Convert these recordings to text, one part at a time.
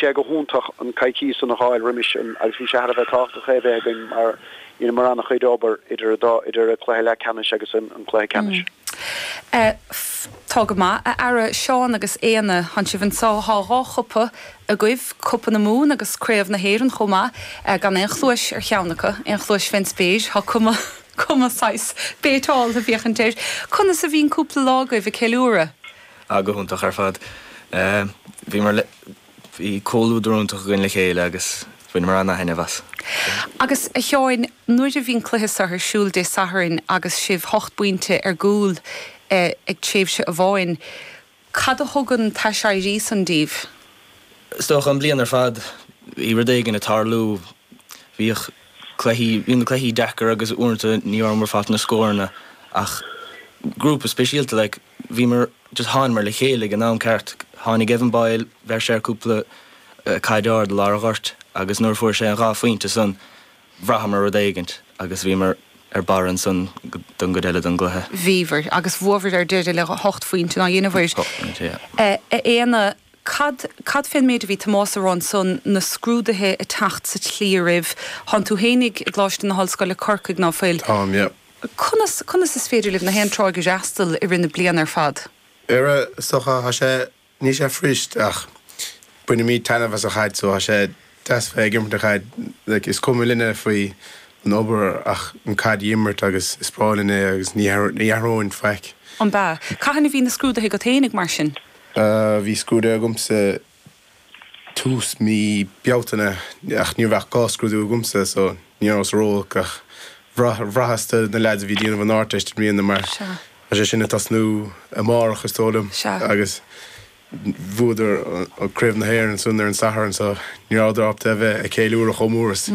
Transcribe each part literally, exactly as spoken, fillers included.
sé go hiontach an coicís san a fháil roimis an agus bhí sé thar a bheith tábhachtach é bheith againn mar dheineamar an-chuid obair idir dá idir an cluiche leathcheannais agus an an cluiche ceannais. Mm. Tá go maith a fheara Seán agus Éanna thánn sibh anseo tá dhá chupa agaibh Cupa na Mumhan agus Craobh na hÉireann chomh maith gan aon chluais ar cheann acu, aon chluais fén spéir, tá cuma cuma saghas béitáil a bhíodh air. Conas a bhíonn cúpla lá agaibh ag ceiliúradh? Ah go hiontach ar fad. Bhíomar bhí comhluadar iontach againn le chéile agus bhaineamar an-taitneamh as. Agus a Sheáin, nuair a bhíonn cluiche seo ar siúl Dé Sathairn agus sibh hocht bpointe ar gcúl ag tréimhse amháin, cad a thugann t-aiséirí san daoibh? Is dócha an bliain ar fad bhí rud éigin ag tarlú, bhíodh cluichí, bhí na cluichí deacair agus uaireanta ní rabhamar ag fáil na scóranna ach grúpa speisialta like bhíomar just thánamar le chéile ag an am ceart. Tháinig Evan Boyle, bheir sé cúpla caid ard i lár an ghoirt agus nuair a fuair sé an dhá phointe san bhraitheamar rud éigint agus bhíomar ar barr ansan don gcuid eile den gcluiche. Bhíobhair agus bhuabhair ar deireadh le hocht phointe ná dhéanamhair. Hocht bpointe, yeah. A Éanna, cad cad fén méid a bhí Tomás a rá ansan, na scrúduithe ag teacht sa tslí oraibh, thánn tú fhéinig i gColáiste na hOllscoile Corcaigh ná fuil? Táim, yeah. Conas conas is féidir libh na haon tráigh a fhreastal i rith na bliana ar fad? Ar is dócha, tá sé, níl sé fuirist ach bainimid taitneamh as an chaid so tá sé deas bheith ag imirt an chaid, like is cuma linne faoi an obair ach an caid a imirt agus is breá linn é agus ní ní athróinn faic. An b'ea? Cathain a bhí na scrúduithe agat fhéinig mar sin? Bhí scrúduithe agamsa tús mí Bealtaine ach ní raibh ach dhá scrúdú agamsa so ní rabhas ró-olc ach bhraitheas do na leaids a bhí ag déanamh an Ardteist i mbliana mar tá sé sin ag tosnú amárach is dóigh liom agus bhuadar Craobh na hÉireann ansan ar an Satharn so ní rabhadar ábalta a bheith ag ceiliúradh chomh mór is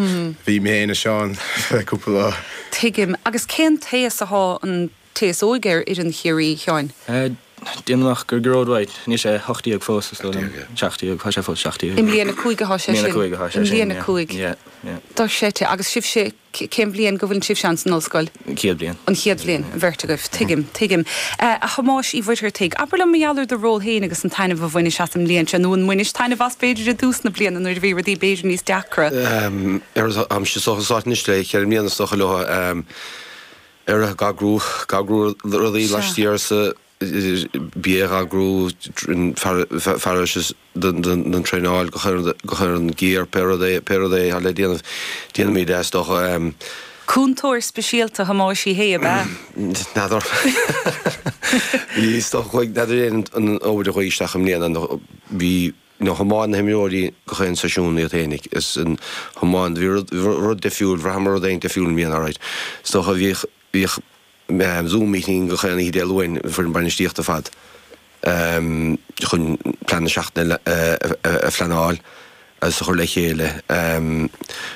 bhí mé féin is Seán le cúpla lá. Tuigim. Agus cén t-aos athá an t-aos óg ar fhoireann Chiarraí, a Sheáin? Déanaim amach gur Gearóid White, níl sé hocht déag fós is dóigh liom, seacht déag, tá sé fós seacht déag. I mbliain a cúig athá sé I mbliain sin. a cúig athá sé I sin, mbliain a yeah, cúig. yeah, yeah. Dochreidte. Agus sibhse, cén bhliain go bhfuileann sibhse ann san ollscoil? An chéad bhliain. An chéad bhliain, an bheirt agaibh. Tuigim, tuigim. A Thomáis Uí Mhuircheartaigh, abair liom mar gheall ar do ról féin agus an taitneamh a bhainis as an mbliain seo, nó an mbainis taitneamh as b'fhéidir i dtús na bliana nuair a bhí rudaí b'fhéidir níos deacra? Ar, táimse sa áit anois le ceithre mbliana is dócha leo. Ar ag eagrú, ag eagrú rudaí laistiar sa bia a eagrú, fearas don traenáil, go chuir an gear, pé rud é, pé rud é atá le déanamh, déanaimid é is dócha. Cúntóir speisialta Thomáis Uí Shé ab ea? N'fheadar. Bhí, is dócha, chuaigh, n'fheadar an obair a chuaigh isteach i mbliana, bhí, nó thiomáin na himreoirí gach aon seisiún iad fhéinig, is an thiomáin, bhí rud, rud difriúil, bhraitheamar rud éigin difriúil i mbliana, alright. Is dócha bhíodh, bhíodh Zoom meeting gach aon oíche Dé Luain, an foireann bainistíochta ar fad, chun plean na seachtaine a phleanáil agus a chur le chéile.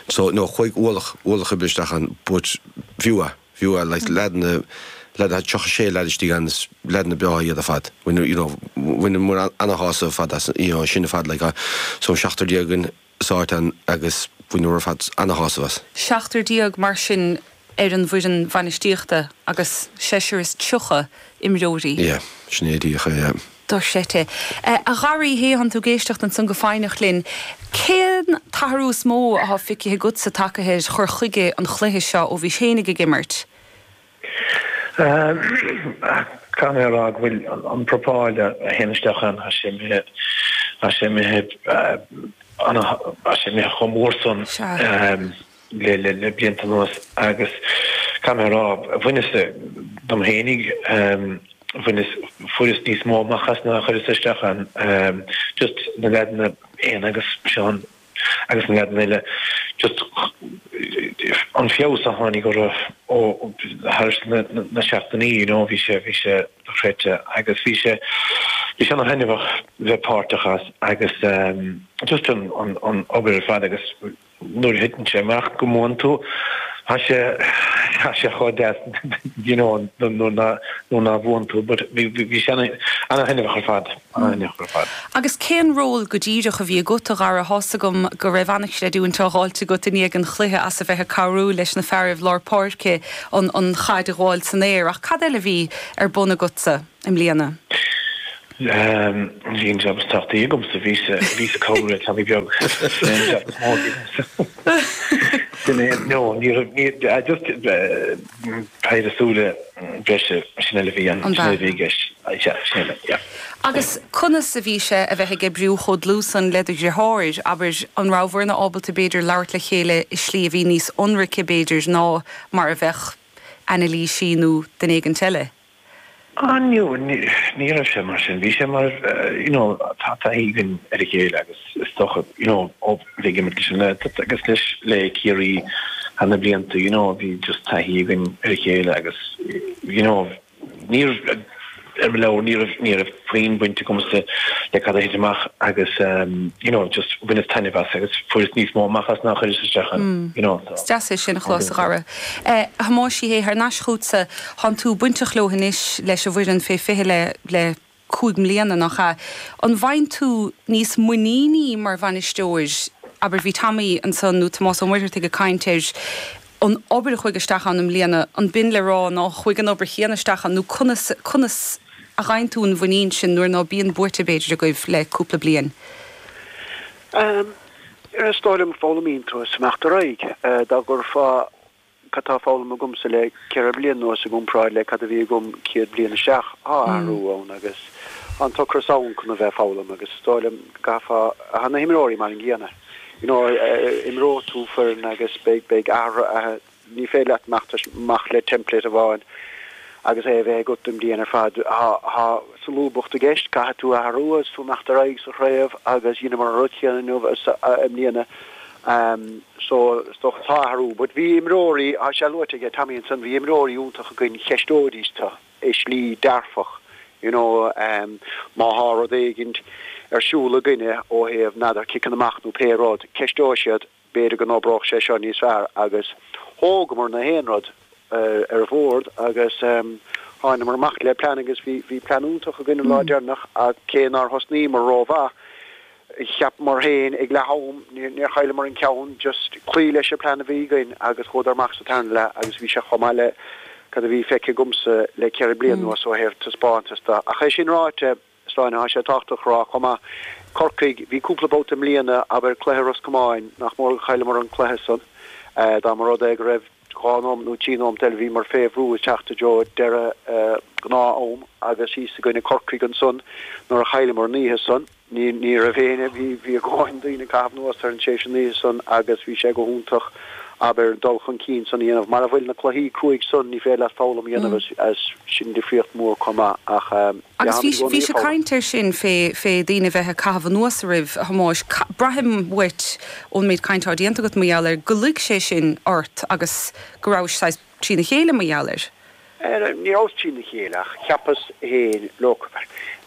So, no, chuaigh ualach, ualach oibre isteach ann, but b'fhiú é, b'fhiú é, like leaideanna, leaideanna, tríocha sé leaid istigh ann, is leaideanna breátha iad ar fad. Bhain, you know, bhaineamar ana-shásamh ar fad as, you know, sin ar fad, like, so seachtar déag againn sa áit ann agus bhaineamar ar fad ana-shásamh as. Seachtar déag mar sin ar an bhfoireann bhainistíochta agus seisear is tríocha imreoirí. Yeah, sin é díreach é, yeah. Dochreidte. A Gharraí, thánn tú ag éisteacht ansan go foighneach linn. Cén t-athrú is mó atá feicthe agatsa tagtha ar chur chuige an chluiche seo ó bhís fhéinig ag imirt? Caithfidh mé a rá go bhfuil an prapáil a théann isteach ann, tá sé imithe, tá sé imithe, tá sé imithe chomh mór san le le blianta anuas agus caithfidh mé a rá, bhaineas dom fhéinig, bhaineas, fuaireas níos mó amach as ná a chuireas isteach ann, just na leaideanna Éanna agus Seán agus na leaideanna eile, just an feabhas a tháinig orthu ó thar na seachtainí, you know, bhí sé, bhí sé dochreidte agus bhí sé, bhí sé ana-thaitneamhach bheith páirteach as agus just an, an, an obair ar fad agus nuair a thiteann sé amach go mbuann tú, tá sé, tá sé chomh deas, you know, nuair ná, nuair ná bhuann tú, but bhí, bhí sé ana-thaitneamhach ar fad, ana-thaitneamhach ar fad. Agus cén ról go díreach a bhí agat, a Dhara? Tá's agam go raibh an-chreidiúint á dh'fháilt agat i ndiaidh an chluiche as a bheith ag cabhrú leis na fearaibh lár páirce an, an chaid a ghabháil san aer, ach cad eile a bhí ar bun agatsa i mbliana? Bhí an jab is tábhachtaí agamsa, bhíos bhíos ag cabhrú le Tommy beag. Sin an jab is mó a bhí agamsa. Sin é, no, ní raibh, ní, just péire súile breise, sin uile a bhí ann, sin uile a bhí i gceist. Sea, sin uile, yeah. Agus conas a bhí sé a bheith ag oibriú chomh dlúth san le do dheartháir, abair, an rabhabhair-na ábalta b'fhéidir labhairt le chéile i slí a bhí níos ionraice b'fhéidir ná mar a bheadh anailísí nó duine éigint eile? Ah no, ní raibh sé mar sin. Bhí sé mar, you know, tá taithí againn ar a chéile agus is dócha, you know, ó bheith ag imirt leis an nGaeltacht agus leis le Ciarraí thar na blianta, you know, bhí just taithí againn ar a chéile agus, you know, ní raibh, ar mo leabhar, ní raibh, ní raibh puinn baint agamsa le cad a thit amach agus, you know, just bhaineas taitneamh as agus fuaireas níos mó amach as ná a chuireas isteach ann, you know, so. Is deas é sin a chlos, a Dhara. A Thomáis Uí Shé, thar n-ais chugatsa, thánn tú bainteach leo anois, leis an bhfoireann fé fiche le, le cúig mbliana, nach ea? An bhfaigheann tú níos muiníní mar bhainisteoir, abair, bhí Tommy ansan nó Tomás Ó Muircheartaigh ag caint ar an obair a chuaigh isteach ann i mbliana, an b'in le rá ná chuaigh an obair chéanna isteach ann nó conas, conas a fhaigheann tú an mhuinín sin nuair ná bíonn buaite b'fhéidir agaibh le cúpla bliain? Is dóigh liom foghlaimíonn tú as imeacht ar aghaidh. Dá gcuirfeá cad tá foghlamtha agamsa le ceithre bliana anuas i gcomparáid le cad a bhí agam céad bliain isteach, tá athrú ann agus tá an t-ocras ann chun a bheith ag foghlaim agus is dóigh liom go gcaithfeá, tá na himreoirí mar an gcéanna. You know, imreoidh tú foireann agus beidh, beidh athruithe, ní féidir leat imeacht amach le template amháin agus é a bheith agat don bhliain ar fad. Tá, tá solúbthacht i gceist, caithfidh tú athrú agus tú imeacht ar aghaidh sa chraobh agus dheineamar an rud céanna inniu i mbliana. So, is dócha tá athrú. But bhí imreoirí, tá sé luaite aige Tommy ansan, bhí imreoirí iontach againn, cheisteoidís tú i slí dearfach, you know, má thá rud éigint ar siúl againne ó thaobh n'fheadar ciceanna amach nó pé rud, ceisteoidh siad, b'fhéidir go n-oibreodh sé seo níos fearr agus thógamar na haon rud ar an bhord agus thánamar amach le plean agus bhí bhí plean iontach againn an lá deireanach ach cé nár thosnaíomar rómhaith, cheapamar féin ag leath am, níor chailleamar an ceann, just cloí leis an plean a bhí againn agus chuadar amach sa tarna leath agus bhí sé chomh maith le cad a bhí feicthe agamsa le ceithre bliana anuas ó thaobh taispeántas de. Ach é sin ráite, Sláine, tá sé tábhachtach a rá chomh maith, Corcaigh, bhí cúpla babhta i mbliana, abair cluiche Ros Comáin, nach mór gur chailleamar an cluiche san, dá mba rud é go raibh dhá nóimeat nó trí nóimeat eile, bhíomar fé bhrú ag teacht i dtreo deireadh gnáth-am agus thíos i gcoinne Corcaigh ansan nuair a chailleamar an oíche san. Ní, ní raibh éinne, bhí, bhí a dhóthain daoine ag caitheamh anuas ar an tséis an oíche san agus bhí sé go hiontach, abair, dul chun cinn san a dhéanamh. Mara bhfuil na cluichí cruaidh san, ní féidir leat foghlaim a dhéanamh as, as sin difríocht mhór chomh maith ach, yeah, Agus táimid bhí, i gcónaí bhí ag sé foghlaim. caint air sin fé, fé daoine a bheith ag caitheamh anuas oraibh, a Thomáis. Ca, braithim uait ón méid cainte atá déanta agat mar gheall air, go luigh sé sin ort agus go rabhais saghas trína chéile mar gheall air. Ní rabhas trína chéile ach cheapas féin, look,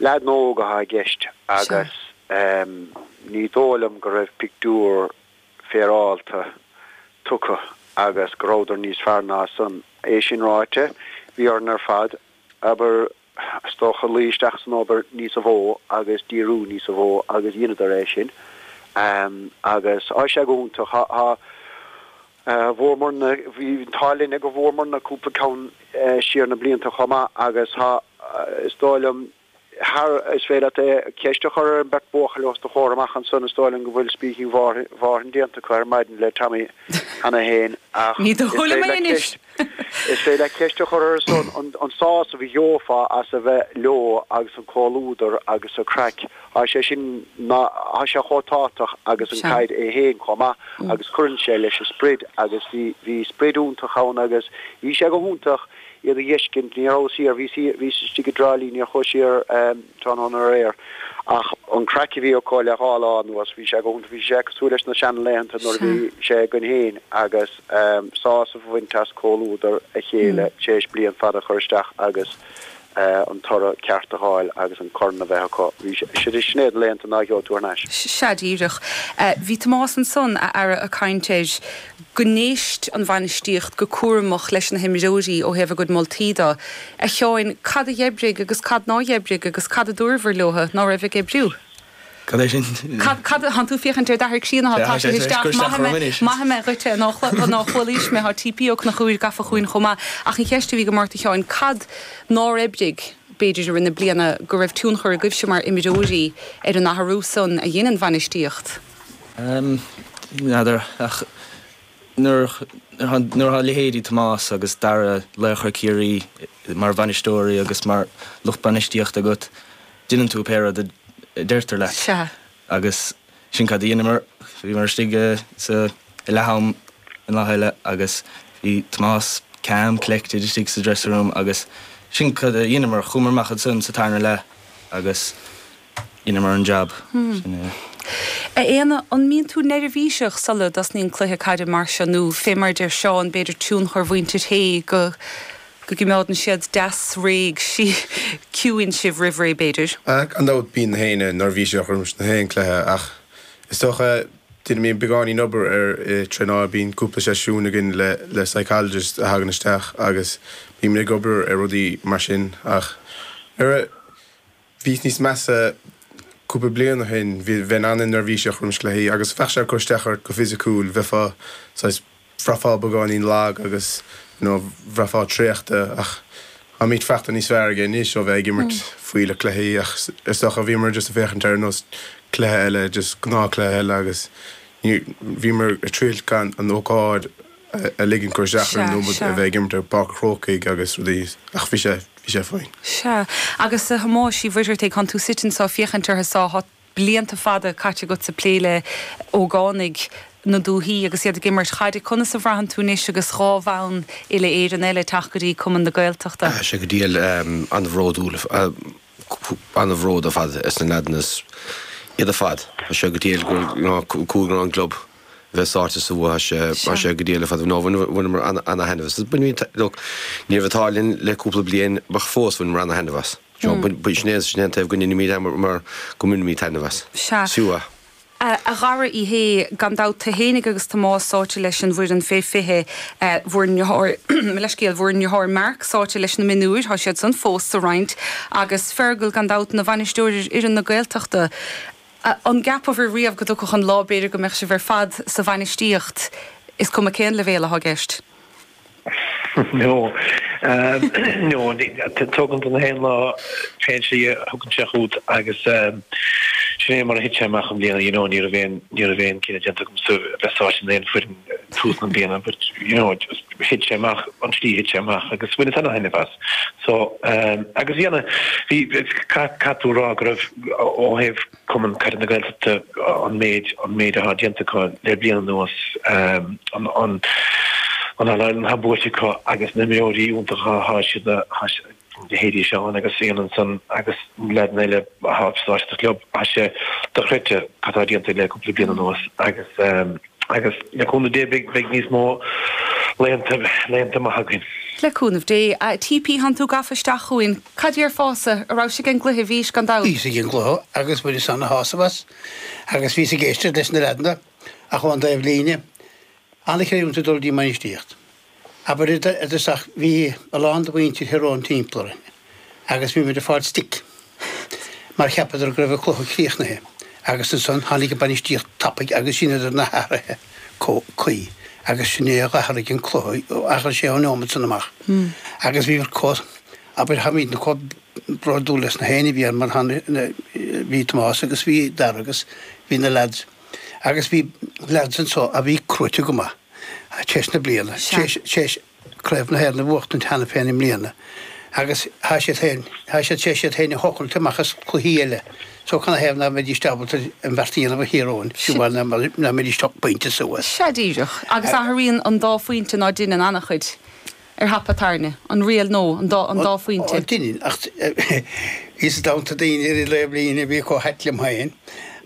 leaideanna óga atá i gceist agus ní dóigh liom go raibh pictiúr féaráilte tugtha agus go rabhadar níos fearr ná san. É sin ráite, bhí orainn ar fad, abair, is dócha, luí isteach san obair níosa mhó agus díriú níosa mhó agus dheineadar é sin agus tá sé go hiontach. Tá. Bhuamarna, bhí an t-ádh linne go bhfuaireamarna cúpla ceann siar na blianta chomh maith agus tá, is dóigh liom, thar, is féidir leat é, ceist a chur ar an mbeirt buachaill os do chomhair amach ansan, is dóigh liom go bhfuil Speaking Mhárthain déanta acu ar maidin le Tommy cheana féin ach Ní is dóigh liom féidir é leat anois! ceist, is féidir leat ceist a chur ar son an, an sásamh a gheofá as a bheith leo agus an comhluadar agus an craic. Tá sé sin, ná, tá sé chomh tábhachtach agus an Sea. caid é féin chomh maith agus cuireann sé leis an sprid agus bhí, bhí sprid iontach ann agus bhí sé go hiontach iad a dh'fheiscint, ní rabhas thiar, bhíos thiar, bhíos istigh i dTrá Lí, níor chuas siar tráthnóna aréir ach an craic a bhí acu le dhá lá anuas, bhí sé go hiontach, bhí sé cosúil leis na seanlaethanta nuair a Sea. bhí sé againn féin agus sásamh a bhaint as comhluadar a chéile tar éis bliain fada a chur isteach agus. an toradh ceart a fháil agus an corn a bheith acu. Bhí sé, sin iad na laethanta ná gheobhaidh tú thar n-ais. Sea, díreach. Bhí Tomás ansan, a Aire, ag caint ar go n-éist an bhainistíocht go cúramach leis na himreoirí ó thaobh a gcuid moltaí de. A Sheáin, cad a d'oibrigh agus cad ná d'oibrigh agus cad a dúrabhair leo ná raibh ag oibriú? Cad é sin? Cad, cad, thánn tú féachaint ar d'athair críonna, tá sé isteach, maithfidh mé, maithfidh mé dhuit é, ná chualaís mé, tá TP Ó Conchúir gafa chugainn chomh maith. Ach an cheist a bhí agam ort a Sheáin, cad nár oibrigh b'fhéidir i rith na bliana, go raibh tionchar agaibhse mar imreoirí ar an athrú san a dhein an bhainistíocht? N'fheadar, ach nuair atá leithéidí Tomás agus Dara, laochra Chiarraí, mar bhainisteoirí agus mar lucht bainistíochta agat, déanann tú pé rud a deirtear leat. Sea. Agus sin cad a dheineamar, bhíomar istigh sa leath-am an lá eile agus bhí Tomás calm, collected istigh sa dressing room agus sin cad a dheineamar, chuamar amach ansan sa tarna leath agus dheineamar an jab. Sin é. A Éanna, an mbíonn tú neirbhíseach sula dtosnaíonn cluiche caide mar seo nó fé mar a deir Seán, b'fhéidir tionchar mhuintir Shé go go gcoimeádann siad deas réidh ciúin sibh roimh ré b'fhéidir? Gan dabht bíonn na héinne neirbhíseach roimis na haon cluiche ach is dócha déanaimid beagáinín obair ar traenáil, bíonn cúpla seisiún againn le le psychologist a thagann isteach agus bímid ag obair ar rudaí mar sin ach ar a bhíos níos measa cúpla bliain ó shin bhí bheinn an-neirbhíseach roimis cluichí agus bheadh sé ag cur isteach ort go fisiciúil, bheifeá saghas bhraithfeá beagáinín lag agus you know bhraithfeá traochta ach táimid faighte níos fearr aige anois ó bheith ag imirt fuílleach cluichí ach is dócha bhíomar just ag féachaint ar nós cluiche eile just gnáthchluiche eile agus ní bhíomar ag triail gan an ócáid a ligean cur isteach orainn Sea, nó a sea. bheith ag imirt ar Pháirc an Chrócaigh agus rudaí ach bhí sé bhí sé fine. Sea, agus a Thomáis Uí Mhuircheartaigh, tánn tú suite anso ag féachaint orthu so, tá blianta fada caite agatsa ag plé le hógánaigh na dúthaí agus iad ag imirt caide. Conas a bhraitheann tú anois agus dhá bhonn uile-Éireann eile ag teacht go dtí Cumann na Gaeltachta? Tá sé go diail an-bhródúil, an-bhród ar fad as na leaideanna is iad ar fad. Tá sé go diail go cúig an gclub bheith sáite sa bhua, tá sé go diail ar fad. No, bhaineamar ana-thaitneamh as. Look, ní raibh an t-ádh linn le cúpla bliain ach fós bhaineamar ana-thaitneamh as. Sin é sin é an taobh go ndéanaimid mar go mbainimid taitneamh as. Sea. Sea. A Dhara Uí Shé, gan dabht tú fhéinig agus Tomás sáite leis an bhfoireann fé fiche, bhur ndeartháir, mo leithscéal, bhur ndeartháir Mark sáite leis na mionúir, tá siad san fós sa roinn, agus Fergal gan dabht ina bhainisteoir ar fhoireann na Gaeltachta. An gceapabhair riamh go dtiocfadh an lá b'fhéidir go mbeadh sibh ar fad sa bhainistíocht, is cuma cén leibhéal atá i gceist? No. No, tugann do na haon lá fén slí a thugann sé chugat agus sin é mar a thit sé amach i mbliana, you know, ní raibh aon, ní raibh aon cinneadh déanta agamsa a bheith sáite in aon foireann tús na bliana but, you know, just thit sé amach an tslí a thit sé amach agus bhaineas ana-thaitneamh as. So, agus bhí ana, bhí, caithfidh tú a rá go raibh ó thaobh Cumann Caide na Gaeltachta an méid, an méid atá déanta acu le bliain anuas, an, an, an All-Ireland atá buaite acu agus na himreoirí iontacha atá siad a leithéidí Seán agus Éanna ansan agus leaideanna eile atá sáite sa chlub, tá sé dochreidte cad atá déanta le cúpla bliain anuas agus agus le cúnamh Dé beidh beidh níos mó laethanta laethanta maithe againn. Le cúnamh Dé. A TP, thánn tú gafa isteach chugainn. Cad déarfása? A rabhais ag an gcluiche? Bhís, gan dabht. Bhíos ag an gcluiche agus bhaineas ana-shásamh as agus bhíos ag éisteacht leis na leaideanna ach ón dtaobh líne. An-chreidiúint ag dul dtí an mbainistíocht. Abair i dtosach, bhí a lán de mhuintir Thír Eoghain timpeall orainn agus bhí muid ag fáil stick mar cheapadar go raibh an cluiche críochnaithe agus ansan tháinig an bainistíocht tapaidh agus dheineadar na hathruithe cuí agus sin é a d'athraigh an cluiche, athraigh sé ón neomat san amach agus bhí chomh, abair, táimidne chomh bródúil leis na héinne a bhí ann mar bhí Tomás agus bhí Dara agus bhí na lads. Agus bhí leaids anso a bhí crúite go maith tar éis na bliana, tar éis Craobh na hÉireann a bhuachtaint cheana féin i mbliana agus thá siad féin, thá siad tar éis iad féin a thochailt amach as cluichí eile so canathaobh ná mbeidís ábalta an bheart a dhéanamh do Thír Eoghain, fiú amháin ná mbeidís ocht bpointe suas. Sea díreach. Agus athraíonn an dá phointe ná deineann an-chuid. Ar thapa tairne, an riail nó an dá, an dá phointe. Ó, deineann, ach bhíos i dteannta daoine ar an dtaobh líne a bhí chomh hait liom féin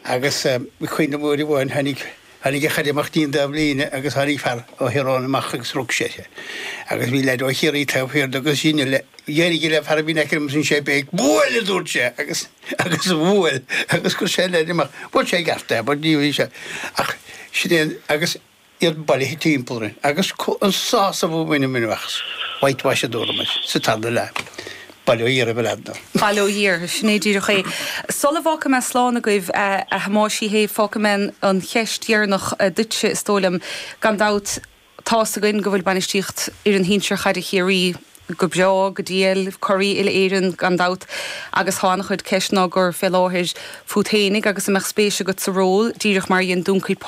agus bhí cuimhne agam uair amháin tháinig, tháinig an chaid amach dtí'n dtaobh líne agus tháinig fear ó Thír Eoghain amach agus rug sé uirthi agus bhí leaid ó Chiarraí taobh thiar de agus sin le, d'éirigh le fear a bhí in aice liom ansin sé béic, buail a dúirt sé agus, agus bhuail agus chuir sé an leaid amach. Bhuail sé i gceart é but ní bhí sé ach sin é an, agus iad bailithe timpeall orainn agus an sásamh a bhaineamar amach, whitewash a dúramar sa tarna leath. Bail ó Dhia oraibh a leaideanna. Bail ó Dhia oraibh, sin é díreach é. Sula bhfágfaidh mé slán agaibh, a Thomáis Uí Shé, fágfaidh mé an cheist dheireanach duitse, is dóigh liom. Gan dabht, tá's againn go bhfuil bainistíocht fhoireann shinsir chaide Chiarraí go breá go diail curaidh uile-Éireann gan dabht agus tá an-chuid ceisteanna á gcur fé láthair fút fhéinig agus an mbeadh spéis agat sa ról díreach mar a dhein Dúncaí